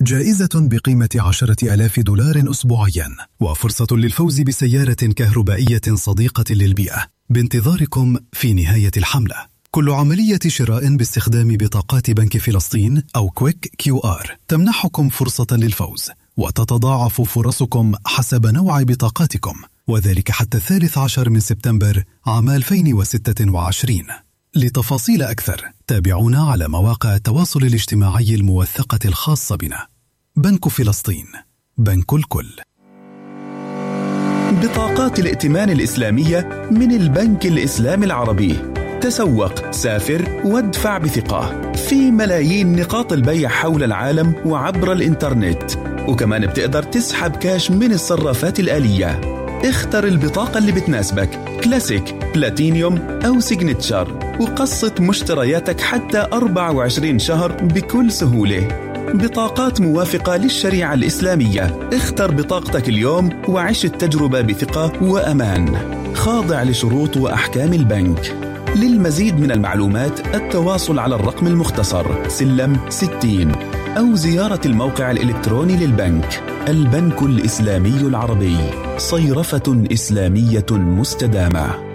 جائزة بقيمة 10,000 دولار أسبوعيا، وفرصة للفوز بسيارة كهربائية صديقة للبيئة بانتظاركم في نهاية الحملة. كل عملية شراء باستخدام بطاقات بنك فلسطين أو كويك QR تمنحكم فرصة للفوز، وتتضاعف فرصكم حسب نوع بطاقاتكم، وذلك حتى 13 من سبتمبر عام 2026. لتفاصيل أكثر تابعونا على مواقع التواصل الاجتماعي الموثقة الخاصة بنا. بنك فلسطين، بنك الكل. بطاقات الائتمان الإسلامية من البنك الإسلامي العربي. تسوق، سافر، وادفع بثقة في ملايين نقاط البيع حول العالم وعبر الإنترنت، وكمان بتقدر تسحب كاش من الصرافات الآلية. اختر البطاقة اللي بتناسبك، كلاسيك، بلاتينيوم أو سيجنتشر، وقسط مشترياتك حتى 24 شهر بكل سهولة. بطاقات موافقة للشريعة الإسلامية. اختر بطاقتك اليوم وعيش التجربة بثقة وأمان، خاضع لشروط وأحكام البنك. للمزيد من المعلومات التواصل على الرقم المختصر سلم 60 أو زيارة الموقع الإلكتروني للبنك. البنك الإسلامي العربي، صيرفة إسلامية مستدامة.